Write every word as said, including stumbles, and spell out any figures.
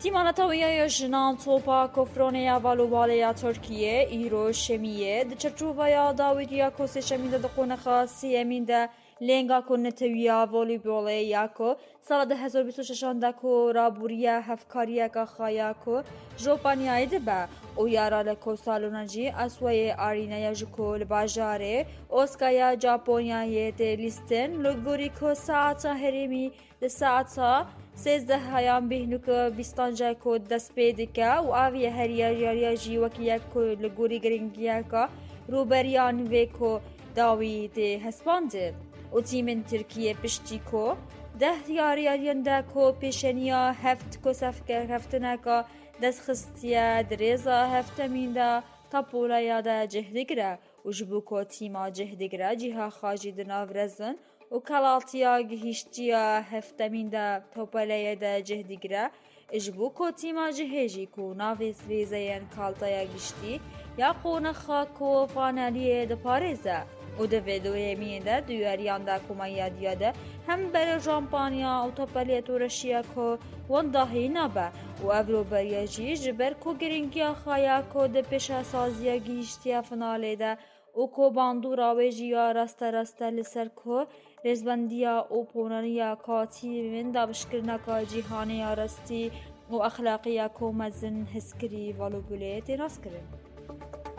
Tîma Netewî ya Jinan topa kofronê ya valûbalê ya Tirkiyê îro şemiyê di çerçoveya dawîtiya ku sêşemîn de di qonaxa sêyemîn de lênga ku netewî ya voleybolê ya ku sala du hezar bîst û şeş de ku rabûriya hevkariyeka xwe ya ku Jopanyayê dibe û ya ra li ku salona jî Aswayê Arîna ya ji ku li bajarê Oska ya Japonyayê tê lîstin, li gorî ku saeta herêmî di saeta sêzdeh yan bîst û neh bîstan jî ku dest pê dike û ev yê heriya yariya jî wekî yek ku li gorî giringiyeka rûberiyan vê ku dawî tê hespandin û tîmên Tirkiyê piştî ku deh yariyariyên de ku pêşeniya heft ku sefke heftineka dest xistiye di rêza heftemîn de tapolaya de cih digire û ji bo ku tîma cih digire cîha xwe jî di nav rezin û kelatiya gihîştiya heftemîn de topeleyê de cih digire. Ji bo ku tîma cihê jî ku navê rêzeyên kaltaya giştî ya qonaxa ku faneliyê diparêze û di vê doyemiyê de duyariyan de ku me yadiya de hem berê Jampanya û topeliyê Tureşiya ku wendahî nabe û ev rûberiya jî ji ber ku giringiya xwe ya ku di pêşesaziya gihîştiya finalê de û ku bandora wê jî ya raste raste li ser ku rêzbendiya û ponaniya katî min dabişkirineka cîhanê ya rastî û exlaqî ya ku mezin hizkirî valûbulê tê naskirin.